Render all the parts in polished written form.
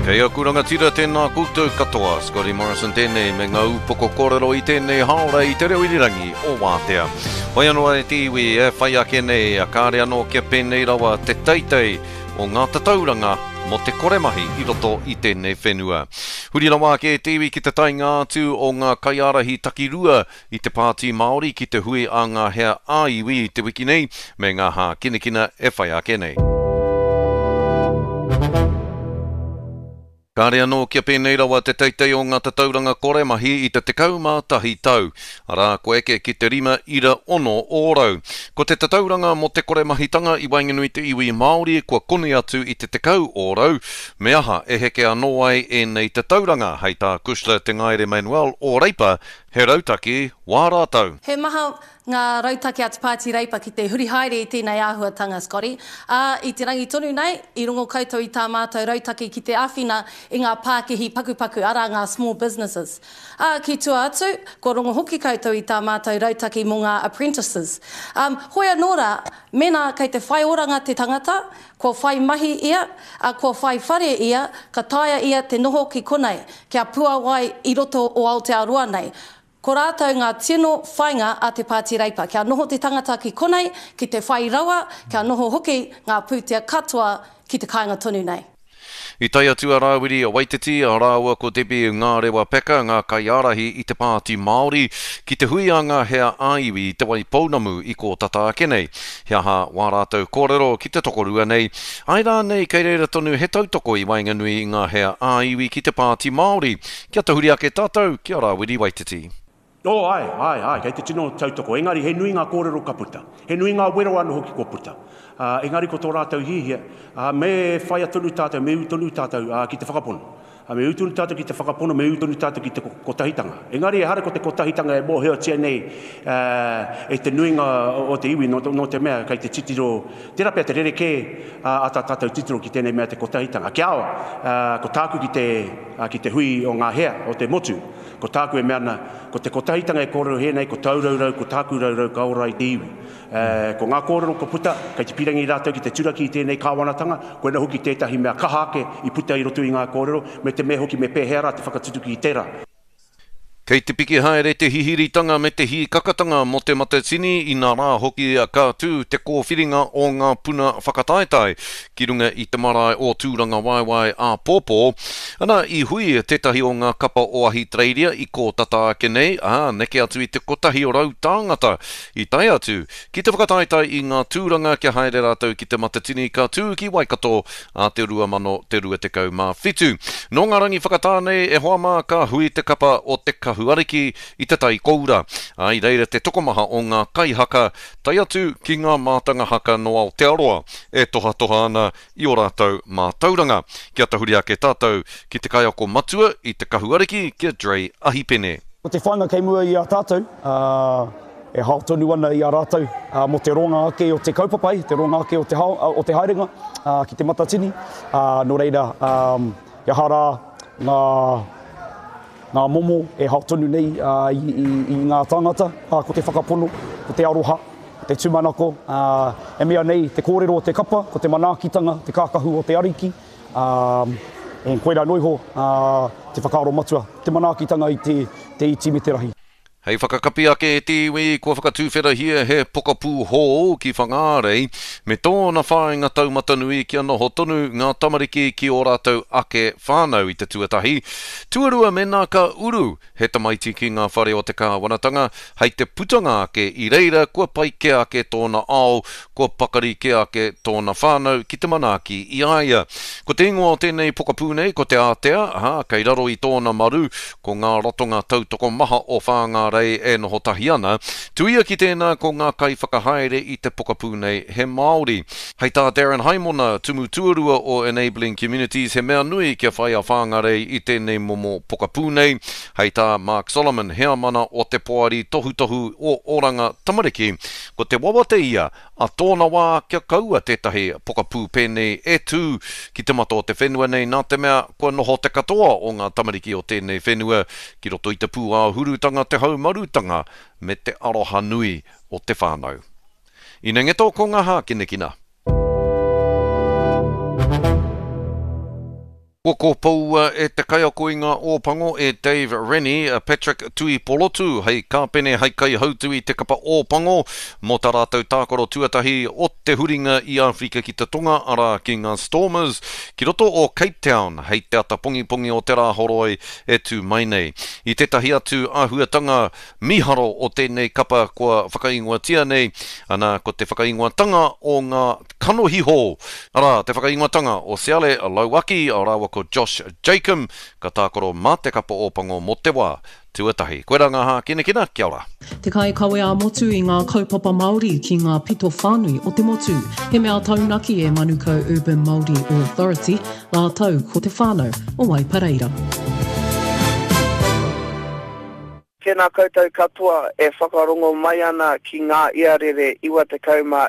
Kei aku rangatira tēnā koutou katoa, Scotty Morrison tēnei me ngā ūpoko kōrero i tēnei hāora i te reo irirangi o Wātea. Whai anō e te iwi e whai ake nei, kāre anō kia pēnei rawa te teitei o ngā tatauranga mō te kore mahi i roto i tēnei whenua. Huri rawa ake e te iwi ki te taenga atu o ngā kaiārahi takirua i te Pāti Māori ki te hui a ngā hea ā-iwi i te wiki nei me ngā hākinakina e whai ake nei. Kāre anō kia pēnei rawa te teitei o ngā tatauranga kore mahi i te 11 tau, arā, kua eke ki te 5.6 ōrau. Ko te tatauranga mō te kore mahitanga i waenganui te iwi Māori kua koni atu i te 10 ōrau, me aha e heke anō ai ēnei tatauranga, hei tā Cushla Te Ngaere Manuel o Reipa, he rautaki wā rātou. He maha ngā rautaki a te Pāti Reipa ki te huri haere i tēnei āhuatanga, Scotty. Ā, i te rangi tonu nei, i rongo koutou i tā mātou rautaki ki te āwhina i ngā pākihi pakupaku, arā ngā small businesses. Ā, ki tua atu, kua rongo hoki koutou i tā mātou rautaki mō ngā apprentices. Ā, hoi anō rā, mēnā kei te whai oranga te tangata, kua whai mahi ia, ā, kua whai whare ia, ka taea ia te noho ki konei, kia puawai i roto o Aotearoa nei. Ko rātou ngā tino whainga a te Pāti Reipa, kia noho te tangata ki konei, ki te whai rawa, kia noho hoki ngā pūtea katoa ki te kāinga tonu nei. I tae atu a Rāwiri Waititi rāua ko Debbie Ngārewa Peka, ngā kaiārahi i te Pāti Māori, ki te hui a ngā hea ā-iwi i Te Waipounamu i kō tata ake nei. He aha wā rātou kōrero ki te tokorua nei? Āe rānei kei reira tonu he tautoko i waenganui i ngā hea ā-iwi ki te Pāti Māori? Kia tahuri ake tātou ki a Rāwiri Waititi. Oh, āe, āe, āe, kei te tino tautoko. Engari, he nui ngā kōrero ka puta. He nui ngā wero anō hoki kua puta. Ā, engari ko tō rātou hiahia, ā, me whaia tonu tātou, me ū tonu tātou, ā, ki te whakapono. Ā, me ū tonu tātou ki te whakapono, me ū tonu tātou ki te kotahitanga. Engari, ehara ko te kotahitanga e mōhiotia nei, ā, e te nuinga o te iwi, nō, nō te mea kei te titiro, tērā pea te rerekē, ā, a tā tātou titiro ki tēnei mea te kotahitanga. Kia ao, ā, ko tāku ki te, ā, ki te hui o ngā hea o te motu, Ko tāku e mea ana, ko te kotahitanga e kōrero hē nei, ko tāu raurau, ko tāku raurau ka ora i te iwi. Ko ngā kōrero kua puta, kei te pīrangi rātou ki te turaki i tēnei kāwanatanga, koina hoki tētahi mea kaha ake i puta i roto i ngā kōrero, me te mea hoki me pēhea rā te whakatutuki i tērā. Kei te piki haere te hihiritanga me te hīkakatanga mō Te Matatini, inā rā hoki ka tū te kōwhiringa o ngā puna whakataetae ki runga i te marae o Tūrangawaewae āpōpō. Ana, i hui tētahi o ngā kapa o Ahitereiria i kō tata ake nei, ā, neke atu i te 100 tāngata i tae atu ki te whakataetae i ngā tūranga kia haere rātou ki Te Matatini ka tū ki Waikato ā te 2027. Nō ngā rangi whakatā nei e hoa mā ka hui te kapa o Te Kahu Ariki i Te Tai Koura, ā, i reira te tokomaha o ngā kaihaka tae atu ki ngā mātanga haka nō Aotearoa e tohatoha ana i ō rātou mātauranga. Kia tahuri ake tātou ki te kaiako matua i Te Kahu Ariki, ki a Dre Ahipene. Ko te whāinga kei mua i a tātou, e hao tonu ana i a rātou mō te roanga ake o te kaupapa, te roanga ake o te, hao, o te haerenga ki Te Matatini. Nō reira, he aha rā ngā Ngā momo e hao tonu nei i ngā tāngata, ko te whakapono, ko te aroha, ko te tūmanako, e mea nei te kōrero o te kapa, ko te manaakitanga, te kākahu o te Ariki, ā, koirā noa iho te whakaaro matua, te manaakitanga i te iti me te rahi. Hei whakakapi ake e te iwi, kua whakatuwherahia he pokapū hou ki Whangārei, me tōna whāinga taumatanui kia noho tonu ngā tamariki ki ō rātou ake whānau i te tuatahi. Tuarua mēnā ka uru he tamaiti ki ngā whare o te kāwanatanga, hei te putanga ake i reira kua pai kē ake tōna ao, kua pakari kē ake tōna whānau ki te manaaki i a ia. Ko te ingoa o tēnei pokapū nei ko Te Ātea, ā, kei raro i tōna maru ko ngā ratonga tautoko maha o Whāngārei e noho tahi ana. Tuia ki tēnā ko ngā kaiwhakahaere i te pokapū nei he Māori. Hei tā Darren Haimona, Tumu Tuarua o Enabling Communities, he mea nui kia whai a Whāngarei i tēnei momo pokapū nei. Hei tā Mark Solomon, heamana o te Poari Tohutohu o Oranga Tamariki, ko te wawata ia A tōna wā kia kaua tētahi pokapū pēnei e tū ki te mata o te whenua nei nā te mea kua noho te katoa o ngā tamariki o tēnei whenua ki roto i te pūāhurutanga, te haumarutanga me te aroha nui o te whānau. Inengeto ko ngā hākinakina. Kua kōpoua e te kaiako i ngā Ōpango e Dave Rennie a Patrick Tuipolotu hei kāpene hei kaihautu i te kapa Ōpango mō tā rātou tākaro tuatahi o te huringa i Āwherika ki te Tonga, arā ki ngā Stormers, ki roto o Cape Town hei te ata pongipongi o te Rāhoroi e tū mai nei. I tētahi atu āhuatanga mīharo o tēnei kapa kua whakaingoatia nei, ana ko te whakaingoatanga o ngā Kanohi hou, arā, te whakaingoatanga o Siale Lauaki rāua ko Josh Jacomb, ka tākaro mā te kapa Ōpango mō te wā tuatahi. Koirā ngā hākinakina, kia ora. Te kaikawe ā-motu i ngā kaupapa Māori ki ngā pito whānui o te motu. He mea taunaki e Manukau Urban Māori Authority rātou ko te whānau o Waipareira. Tēnā koutou katoa e whakarongo mai ana ki ngā iarere 99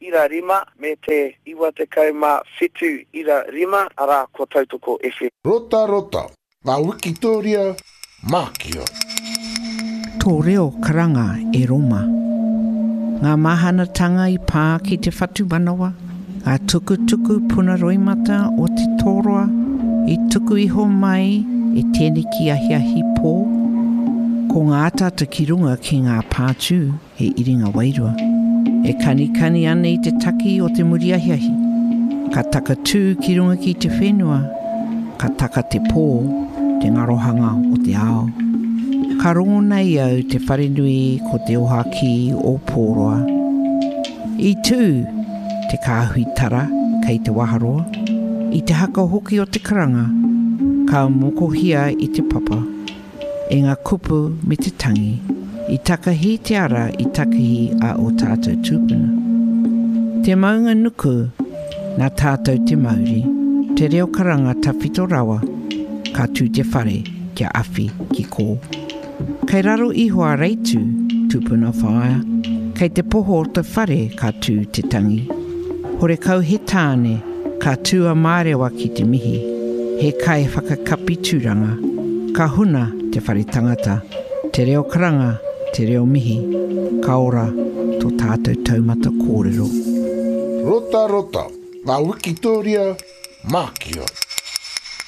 ira rima me te 97 ira rima, arā, ko Tautoko FM. Rotarota, ngā wikitōria mākia. Tō reo karanga e Roma. Ngā mahanatanga i pā ki te whatumanawa, Ngā tukutuku puna roimata o te tōroa i tuku iho mai e tēneki ahiahi pō, ko ngā ataata ki runga ki ngā pātū he iringa wairua, e kanikani ana i te taki o te muri ahiahi, ka takatū ki runga ki te whenua, ka taka te pō, te ngarohanga o te ao. Ka rongo nei au te wharenui ko Te Ohakī o Pōroa. I tū te kāhui tara kei te waharoa, i te haka hoki o te karanga, ka mokohia i te papa, e ngā kupu me te tangi, i takahi te ara i takahi a ō tātou tūpuna. Te maunga nuku, nā tātou te mauri, te reo karanga tawhito rawa, ka tū te whare kia awhi ki kō. Kei raro iho a Reitu, tupuna whaea, kei te poho o te whare ka tū te tangi. Horekau he tāne, ka tū a Mārewa ki te mihi, he kai whakakapi tūranga, ka huna te whare tangata, te reo karanga, te reo mihi, ka ora tō tātou taumata kōrero. Rotarota, ngā wikitōria mākia.